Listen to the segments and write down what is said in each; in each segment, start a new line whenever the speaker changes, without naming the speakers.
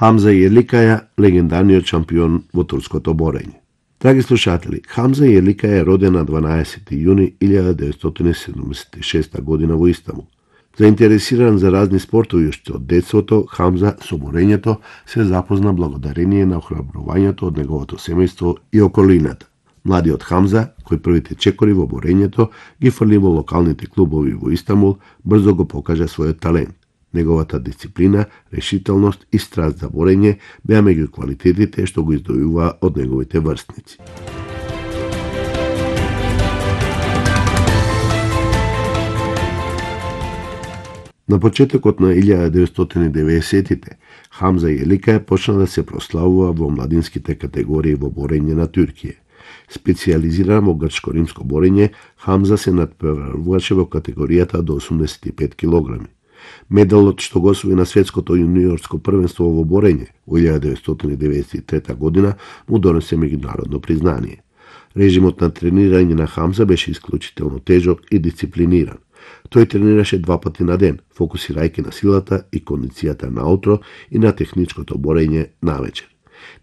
Хамза Јеликаја, легендарниот шампион во турското борење. Драги слушатели, Хамза Јеликаја е роден на 12. јуни 1976 година во Истанбул. Заинтересиран за разни спортови уште од детството, Хамза со борењето се запозна благодарение на охрабрувањето од неговото семејство и околината. Младиот Хамза, кој првите чекори во борењето ги фрли во локалните клубови во Истанбул, брзо го покажа својот талент. Неговата дисциплина, решителност и страст за борење беа меѓу квалитетите што го издвојува од неговите врстници. На почетокот на 1990-тите, Хамза Јеликаја почна да се прославува во младинските категории во борење на Туркија. Специализиран во грчко-римско борење, Хамза се надпреваруваше во категоријата до 85 килограми. Медалот што го освои на светското јуниорско првенство во борење во 1993 година му донесе меѓународно признание. Режимот на тренирање на Хамза беше исклучително тежок и дисциплиниран. Тој тренираше 2 пати на ден, фокусирајќи на силата и кондицијата наутро и на техничкото борење навечер.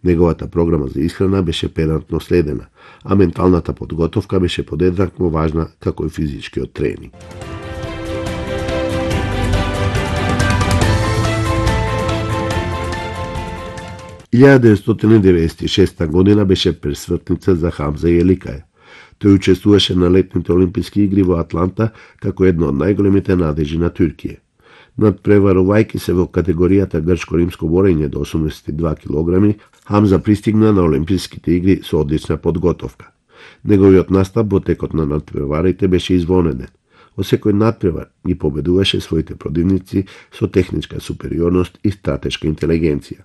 Неговата програма за исхрана беше педантно следена, а менталната подготовка беше подеднакво важна како и физичкиот тренинг. И 1996 година беше пресвртница за Хамза Јеликаја. Тој учествуваше на летните олимписки игри во Атланта како една од најголемите надежи на Туркија. Надпреварувајќи се во категоријата грчко-римско борење до 82 килограми, Хамза пристигна на олимписките игри со одлична подготовка. Неговиот настап во текот на надпреварите беше извонеден. Во секој надпревар ги победуваше своите противници со техничка супериорност и стратешка интелигенција.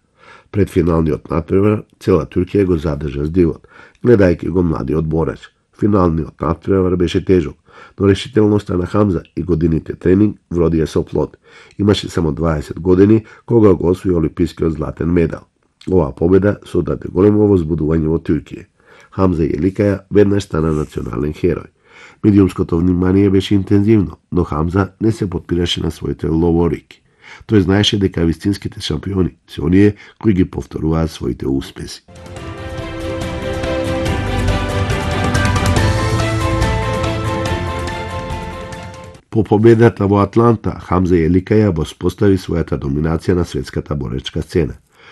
Пред финалниот надпревар цела Туркија го задржа здивот, гледајќи го младиот бореч. Финалниот надпревар беше тежок, но решителноста на Хамза и годините тренинг вродија со плод. Имаше само 20 години кога го освои олимпискиот златен медал. Оваа победа содаде големо возбудување во Туркија. Хамза Јеликаја веднаш стана национален херој. Медиумското внимание беше интензивно, но Хамза не се подпираше на своите ловорики. Тој знаеше дека вистинските шампиони се оние кои ги повторуваат своите успеси. По победата во Атланта, Хамза Јеликаја воспостави својата доминација на светската боречка сцена.